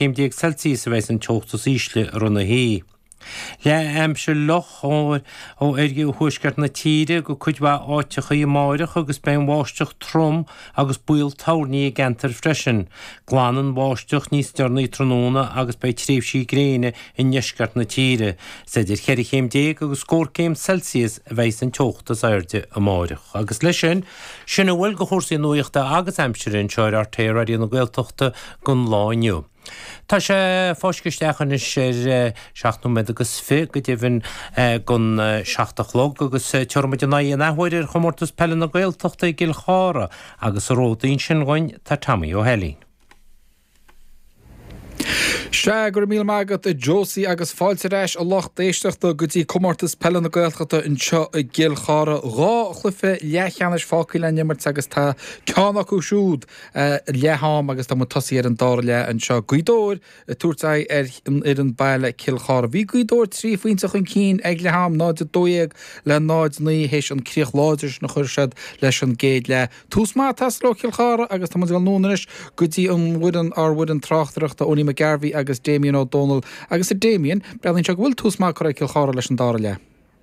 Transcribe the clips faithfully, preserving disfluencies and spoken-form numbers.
céim déag Celsius a bheidh an teocht is ísle i rith na hoíche. Leath-aimsir fhliuch ó oirthuaisceart na tíre go cuid mhaith áiteachaí amáireach agus beidh an bháisteach trom agus baol toirní i gceantar freisin. Glanfaidh an bháisteach níos deireanaí tráthnóna agus beidh tréimhsí gréine i ndeisceart na tíre. Is idir cheithre chéim déag agus scór céim Celsius a bheidh an teocht is airde amáireach. Agus leis sin, sin a bhfuil de chúrsaí nuachta agus aimsire anseo ar R T É Raidió na Gaeltachta don lá inniu. Tá sé fáiscthe isteach anois ar seacht nóiméad agus fiche go deimhin don seacht a chlog agus tabharfaimid ár n-aghaidh an athuair ar chomórtas peile na Gaeltachta i gCill Chartha agus sa ród ansin dhúinn tá Tommy Ó hEilín. Sea, go raibh míle maith agat a Josie agus fáilte ar ais a lucht éisteachta go dtí comórtas peile na Gaeltachta anseo i gCill Chartha. Dhá chluiche leathcheannais fágtha le n-imirt agus tá ceann acu siúd leath am agus tá muid tosaithe ar an dara leath anseo. Gaoth Dobhair ag tabhairt aghaidh ar an fhoireann baile Cill Chartha. Bhí Gaoth Dobhair trí phointe chun cinn ag leath am, náid a dó dhéag le náid naoi théis an críoch láidir sin a chuir siad leis an gcéad leath. Tús maith ag teastáil ó Chill Chartha agus tá muid ag dul anonn anois go dtí an bhfoireann, ár bhfoireann tráchtaireachta, Owenie McGarvey agus Damien Ó Dónaill. Agus a Damien, breathnaíonn sé go bhfuil tús maith curtha ag Cill Chartha leis an dara leath.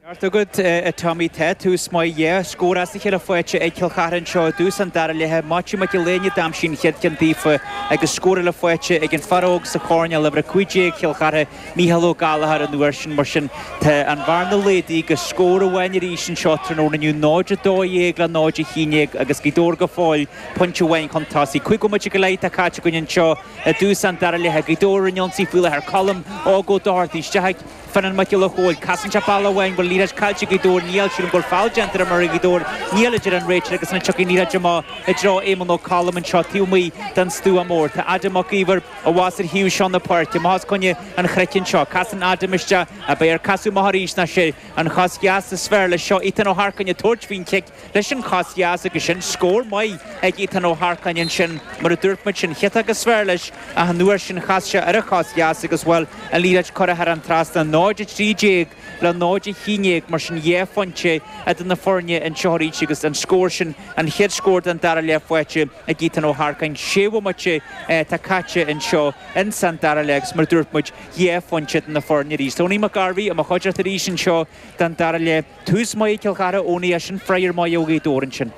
Ceart agat, a Tommy, tá tús maith, dhá scór as a chéile faighte ag Cill Chartha anseo i dtús an dara leatha. Maitiú Mac Giolla Éinne a d'aimsigh an chéad cheann daofa agus scór eile faighte ag an fear óg sa choirnéal, uimhir a cúig déag Chill Chartha, Mícheál Ó Gallchóir an uair sin. Mar sin, tá an bhearna laghdaithe go scór amháin arís anseo tráthnóna inniu, náid a dó dhéag le náid a haon déag agus Gaoth Dobhair go fóill pointe amháin chun tosaigh. Cúig bhomaite go leith atá caite againn anseo i dtús an dara leatha. Gaoth Dobhair ar an ionsaí faoi láthair. Colm Óg Ó Dochartaigh isteach ag Fionnán Mac Giolla Chóill. Casann sé bealach amháin, bhfuil liathróid caillte ag Gaoth Dobhair? Níl, sílim go bhfuil feall déanta ar imreoir Ghaoth Dobhair. Níl, a deir an réiteoir agus ansin tiocfaidh an liathróid amach i dtreo Éamonn Ó Colm anseo taobh amuigh den stua mór. Tá Adam Mac Íomhair abhus ar thaobh seo na páirce. Amach os coinne an chnoic anseo. Casann Adam isteach. Ab é ar casadh amach arís ná sé an chos dheas is fearr leis seo Ethan Ó hEarcáin ag tabhairt faoin chic leis an chos dheas agus sin scór maith ag Ethan Ó hEarcáin ansin. Mar a dúirt muid sin chiotach is fearr leis ach an uair sin chas sé ar a chos dheas agus bhuel an liathróid curtha thar an trasnán. náid a trí déag le náid a haon déag mar sin dhá phointe idir na foirne anseo arís agus an scór sin an chéad scór den dara leath faighte ag Ethan Ó hEarcáin. Sé bhomaite atá caite anseo ins an dara leath agus mar a dúirt muid dhá phointe idir na foirne arís. Tony McGarvey i mo chuideachta arís anseo don dara leath. Tús maith ag Cill Chartha, Owenie, ach sin freagra maith ó Ghaoth Dobhair ansin.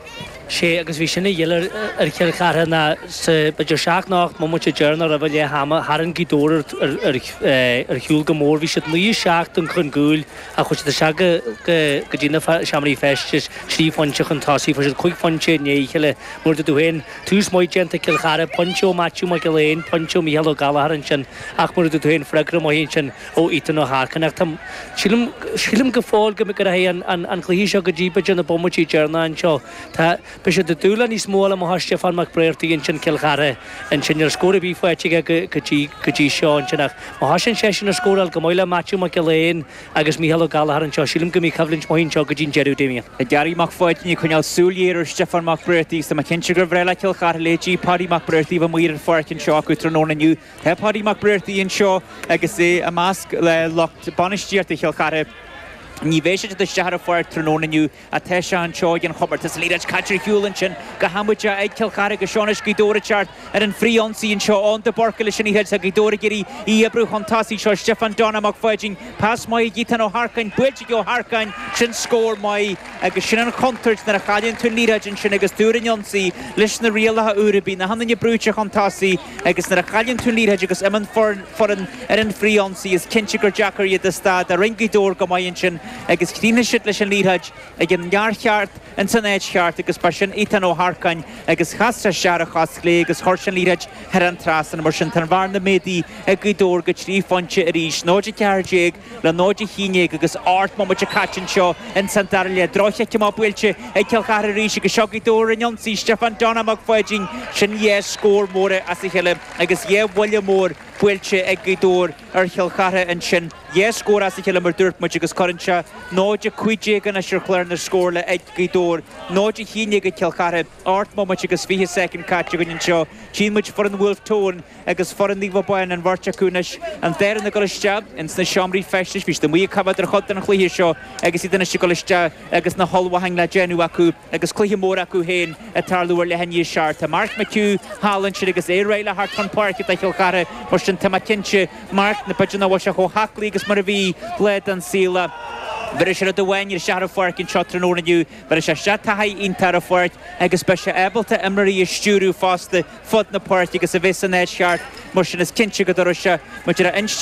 Sé agus bhí sin a dhíth ar Chill Chartha ná sa b'fhéidir seacht nó ocht mbomaite deireanach roimh leath ama tharraing Gaoth Dobhair ar, ar, ar shiúl go mór. Bhí siad naoi seacht chun cúil ach chuaigh siad isteach go, go, go dtí na seomraí feistis trí phointe chun tosaigh. Fuair siad cúig phointe i ndiaidh a chéile. Mar a dúirt tú féin, tús maith déanta ag Cill Chartha, pointe ó Maitiú Mac Giolla Éin, pointe ó Mhícheál Ó Gallchóir ansin ach mar a dúirt tú féin, freagra maith ansin ó Ethan Ó hEarcáin. Ach tá, sílim, sílim go fóill go go rachaidh an, an, an cluiche seo go dtí b'fhéidir na bomaití deireanacha anseo. Tá, beidh siad ag dúil le níos mó a fháil amach ó Stiofán Mac Bréartaigh ansin Cill Chartha ansin. Níl scór ar bith faighte aige go, go dtí, go dtí seo ansin ach má thosaíonn seisean ag scóráil go maith le Maitiú Mac Giolla Éin agus Mícheál Ó Gallchóir anseo, sílim go mbeidh coimhlint maith anseo go dtí an deireadh, Damien. Gary Mac Pháidín ag coinneáil súil ghéar ar Stiofán Mac Bréartaigh. Tá mé cinnte gur bhreá le Cill Chartha leithéidí Paddy Mac Bréartaigh a bheith amuigh ar an pháirc anseo acu tráthnóna inniu. Tá Paddy Mac Bréartaigh anseo agus é i measc le lucht bainistíochta Chill Chartha. Ní bheidh sé ag teacht isteach ar an pháirc tráthnóna inniu ach tá sé anseo ag an chomórtas. An liathróid caite ar shiúl ansin go hamaideach ag Cill Chartha agus seo anois Gaoth Dobhair ag teacht ar an bhfrith-ionsaí anseo. Eoin de Búrca leis an liathróid. Tá Gaoth Dobhair ag iarraidh í a oibriú chun tosaigh. Seo Stiofán Donagh Mac Pháidín. Pas maith ag Ethan Ó hEarcáin. Buailte ag Ó hEarcáin. Sin scór maith agus sin an chontúirt nuair a chailleann tú an liathróid ansin agus tú ar an ionsaí leis na rialacha úra. Bíonn achan duine brúite chun tosaigh agus nuair a chailleann tú an liathróid agus imíonn foireann ar an bhfrith-ionsaí is cinnte gur deacair iad a stad. Rinne Gaoth Dobhair go maith ansin agus chríochnaigh siad leis an liathróid ag an bhfear cheart ins an áit cheart agus ba sin Ethan Ó hEarcáin agus chas sé isteach ar a chos chlé agus chuir sé an liathróid thar an trasnán. Mar sin tá an bhearna méadaithe ag Gaoth Dobhair go trí phointe arís, náid a ceathair déag le náid a haon déag agus ocht mbomaite caite anseo ins an dara leath. Droch-chic amach buailte ag Cill Chartha arís agus seo Gaoth Dobhair ar an ionsaí, Stiofán Donagh Mac Pháidín. Sin dhá scór móra as a chéile agus dhá bhuille mór buailte ag Gaoth Dobhair ar Chill Chartha ansin. Dhá scór as a chéile mar dúirt muid agus cuireann sé náid a cúig déag anois ar chlár na scórála ag Gaoth Dobhair, náid a haon déag ag Cill Chartha. Ocht mbomaite agus fiche soicind caite againn anseo. Tchíonn muid foireann Bhulf Tón agus foireann Naomh Abán, an bheirt acu anois, an dá fhoireann ag dul isteach ins na seomraí feistis. Bhí siad amuigh ag coimhéad ar chuid den chluiche seo agus iad anois ag dul isteach agus na hullmhúcháin le déanamh acu agus cluiche mór acu féin ag tarlú ar leath i ndiaidh a seacht. Tá Mark McHugh thall ansin agus é réidh le theacht chun páirce do Chill Chartha. Mar sin sin tá mé cinnte Mark na b'fhéidir nach bhfuil sé chomh haclaí agus mar a bhí lá den saol. Bheir sé rud amháin ar isteach ar an pháirc anseo tráthnóna inniu, bheir sé isteach taithí iontach ar an pháirc agus beidh sé ábalta imreoirí a stiúradh fosta fud na páirce agus a bheith san áit cheart mar sin is cinnte go dtabharfaidh sé maidir a insteall